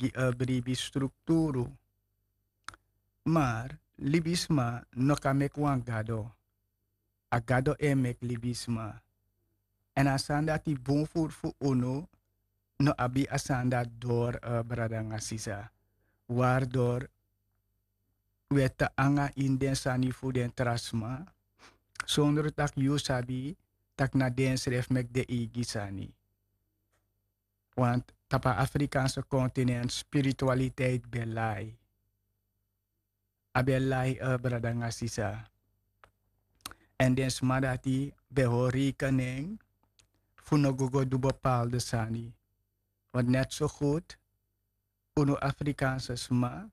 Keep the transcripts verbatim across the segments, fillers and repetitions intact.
gi a bribi strukturu. Mar libisma no kan meki wan gado. A gado e meki libisma. Èn a sani dati bun furu fu unu no abi a sani dati dori, brada nanga sisa. Wari dori wi e tan anga ini den sani fu den tra sma sondro tak' yu sabi tak' na densrefi meki den eigi sani. Want tapu a afrikaanse kontinent spiritualiteit ben lai. A ben lai, brada nanga sisa. Èn den sma dati ben hori rekening fu no go go du bepaalde sani. Want net so goed unu afrikaanse sma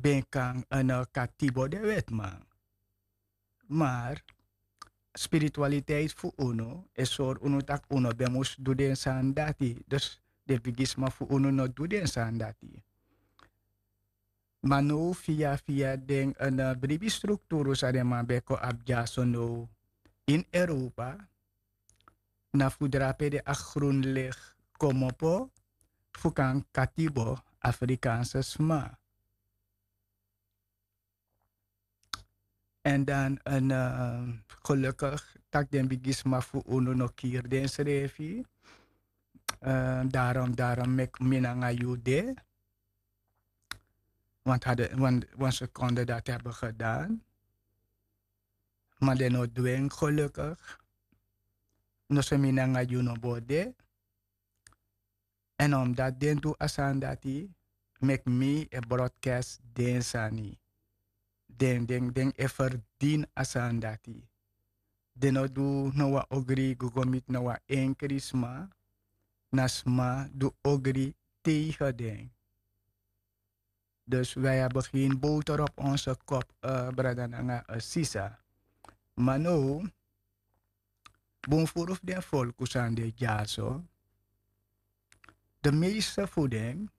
ben kan en katibo den wetman. Mar spiritualiteit fu unu e sori unu tak' unu ben mus du den sani dati. Dus den bigisma fu unu no du den sani dati. Ma now fia fia den bribi strukturu san den man ben kon abi dyaso now ini europa, na fu drape de a grunlig komopo fu kan katibo afrikaanse sma. Èn dan en gelukigi tak' den bigisma fu unu no kiri densrefi. Darom darom meki mi nanga yu de. Want hade wan sekonde dati heben gedan. Ma den no dwing gelukigi. No se mi nanga yu no bo de. Èn omdati den du a sani dati meki mi e broadcast den sani. Den den den e ferdini a sani dati. Den no du no wan ogri go go miti no wan enkri sma. Na sma du ogri tegen den. Dus wi abi gen boter op onse kop, brada nanga sisa. Ma now bun furu fu den folku san de dyaso, de meeste fu den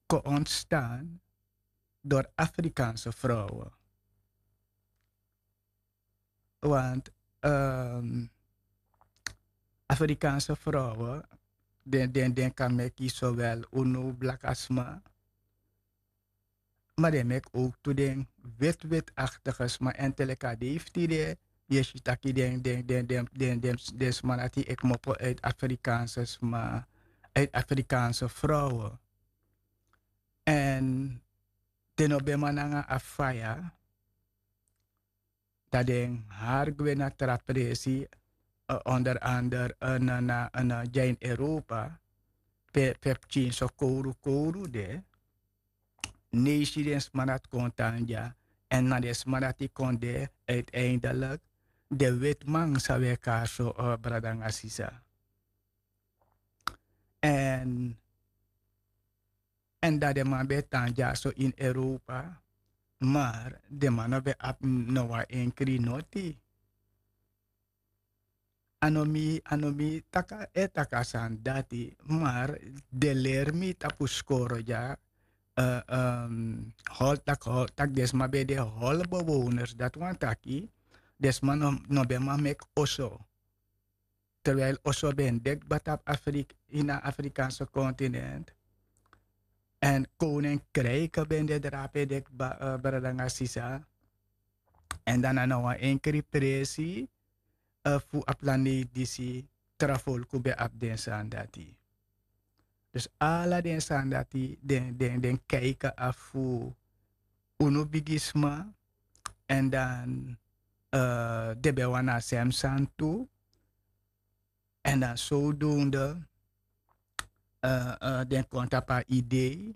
kon ontstan dori afrikaanse vrouwen. Want afrikaanse vrouwen den den kan meki sowel unu blaka sma. Ma den meki ook tu den wit wit aktige sma èn te leki a dei fu tide. Yu e si taki den den den den den den sma dati e kmopo uit afrikaanse sma, uit afrikaanse vrouwen. Èn den no ben man nanga a faya. Dan den hari gwe na tra presi. Onder andere na na na dya ini europa pe pe pikin so kowru kowru de. Ne yu si den sma dati kon tan dya. Èn na den sma dati kon de uiteindelik den wetiman san wi e kari so, brada nanga sisa. Èn èn dan den man ben e tan dyaso ini europa. Mar den man no ben abi no wan enkri noti. A no mi a no mi taki a e taki a sani dati. Mar den leri mi tapu skoro dya. Hol taki hol taki den sma ben de hol bewowners dati wani taki den sma no ben man meki oso. Terwijli oso ben de kba tapu afrik ini a afrikaanse kontinent. Èn koning krijke ben de drape de kba, brada nanga sisa. Èn dan na na wan enkri presi fu a planeti disi tra folku ben abi den sani dati. Dus ala den sani dati den den den kijken afu unu bigisma. Èn dan den ben wani a sem sani tu. Èn dan sowdonde den kon tapu a idei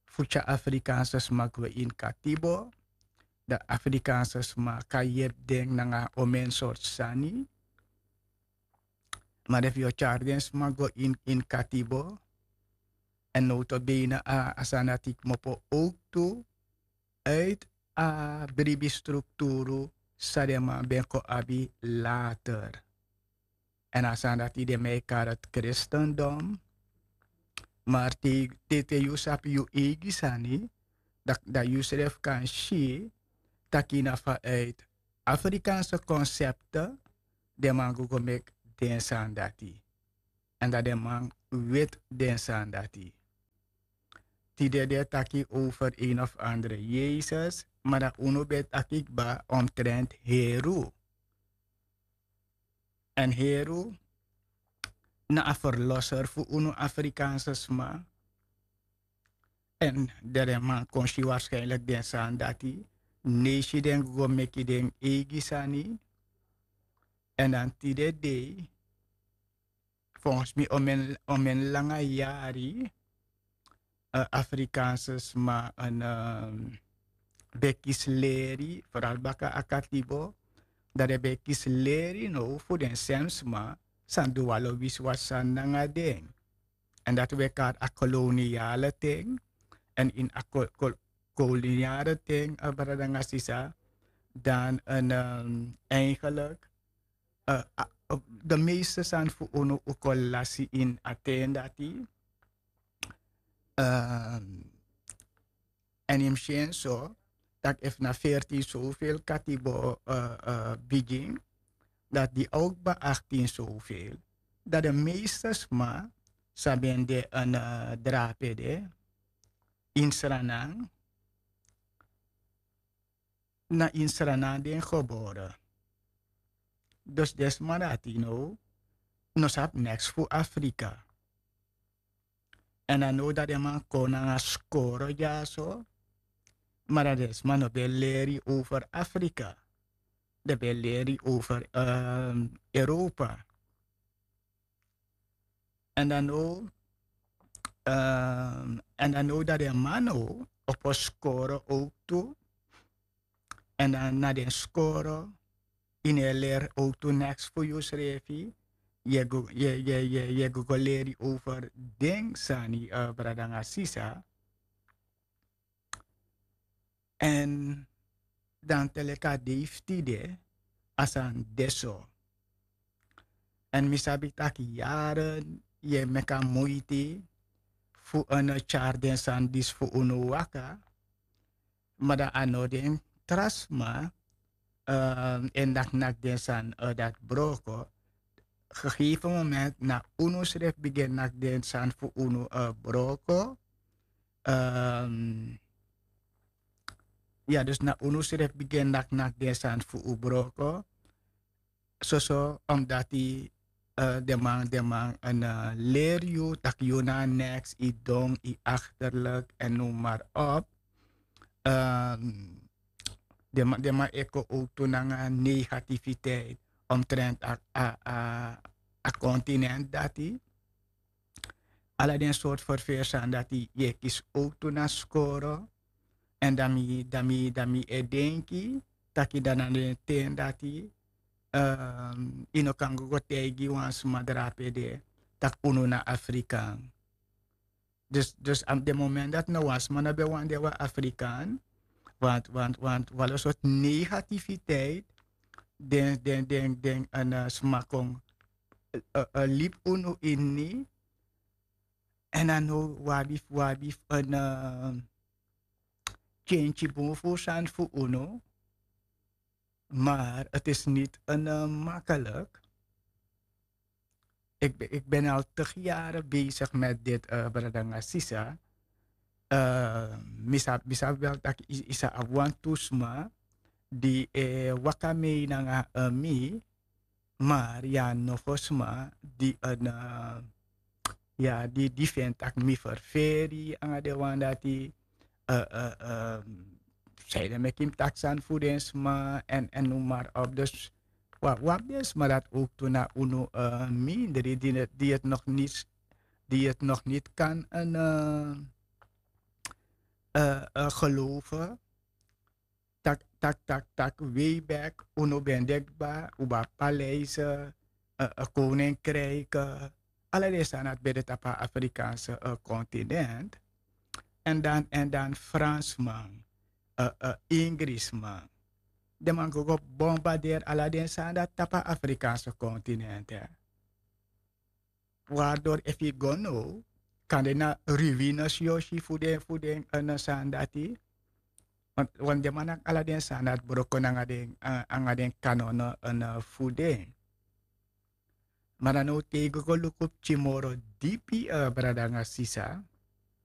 fu tyari afrikaanse sma gwe ini katibo. Dan afrikaanse sma kan yepi den nanga omen sortu sani. Ma den fu yu o tyari den sma go ini ini katibo. Èn nowto beina a sani dati kmopo owk tu. Uit a bribi strukturu san den man ben kon abi later. Èn a sani dati den man e kari kristendom. Mar te te yu sabi yu eigi sani, dan yu srefi kan si taki na fa uit afrikaanse konsepte den man go go meki den sani dati. Èn dan den man weti den sani dati. Tide den e taki over een of andere Yesus, ma dan unu ben e taki kba omtrent Heru. Èn Heru na a verlosser fu unu Afrikaanse sma. Èn den man kon si waarschijnlijk den sani dati, nesi den go meki den eigi sani. Èn dan tide dei, volgens mi, omen, omen langa yari, eh, Afrikaanse sma en, ehm, ben kisi leri, vooral baka a katibo, dan den ben kisi leri now fu den sem sma san du wan lo wisiwasi sani nanga den. Èn dati wi e kari a koloniale ten. Èn ini a ko-, ko-, koloniale ten, eh, brada nanga sisa, dan en, ehm, eigenlijk, eh, a-, op de meeste sani fu unu un kon lasi ini a ten dati. Ehm, Èn yu mus si en so, tak' efu na veertien zoveel katibo, eh, eh, bigin, dati di ook bij achttien zoveel, dati de meeste sma san ben de en, eh, drape de ini Sranan, na ini Sranan den gebore. Dus den sma dati now no sabi neks fu Afrika. Èn a now dati den man kon nanga skoro dyaso, ma dan den sma no ben leri over Afrika. Den ben leri over, ehm, Europa. Èn dan now, ehm, èn dan now dati den man now opo skoro ook tu. Èn dan na den skoro, yu no e leri ook tu neks fu yusrefi, yu e go, yu e, yu e, yu e, yu e go, go leri over den sani, eh, brada nanga sisa. Èn dan te leki a dei fu tide, a sani de so. Èn mi sabi tak' yaren yu e meki a muiti fu unu tyari den sani disi fu unu waka, ma dan a no den tra sma, ehm, e naknaki den sani, eh, dati broko. Gegeven moment na unu srefi bigin naki den sani fu unu, eh, broko. Ehm, ya, dus na unu srefi bigin naknaki den sani fu un broko. Soso, omdati, eh, den man, den man, eh, leri yu tak' yu na neks, yu don, yu achterlijk, en noem maar op. Ehm, den man, den man e kon ook tu nanga negativiteit omtrent a, a, a, a continent dati. Ala den soort verveer sani dati yu e kisi ook tu na skoro. Èn dan mi, dan mi, dan mi e denki taki dan na den ten dati, ehm, yu no kan go, go taigi wan sma drape de tak' unu na Afrikaan. Dus, dus op den moment dati no wan sma no ben wani de wan Afrikaan, want, want, want wan lo sortu negativiteit den, den, den, den, eh, sma kon, eh, eh, libi unu ini. Èn a no wi abi, wi abi en, eh, kenki bun fu sani fu unu. Maar het is niet een, eh, makkelijk. Ik ben, ik ben al tig jaren bezig met dit, eh, brada nanga sisa. Eh, mi sa, mi sabi wel tak' yu, yu sa abi wantu sma di, eh, waka mee nanga, eh, mi, maar ya nogo sma di en, eh, ya di, di feni tak' mi ferferi nanga den wan dati, eh, eh, eh, san ede meki mi taki sani fu den sma, en, en noem maar op. Dus wi abi, wi abi den sma dati ook tu na unu, eh, mindri di, di het nog niet, di het nog niet kan en, eh, eh, eh, geloven. Tak, tak, tak, tak, way back, unu ben de kba, un ben abi paleisen, eh, eh, koninkrijken, ala den sani dati ben de tapu a Afrikaanse, eh, continent. Èn dan, èn dan Fransman, eh, eh, Ingrisman. Den man go, go bombarderi ala den sani dati tapu a Afrikaanse continent, hè. Waardoor efu yu go now, kande na ruïnes yu o si fu den, fu den, eh, sani dati. Want, want den man naki ala den sani dati broko nanga den, eh, nanga den kanonnen, eh, fu den. Ma dan now te yu go, go luku pikin moro dipi, eh, brada nanga sisa.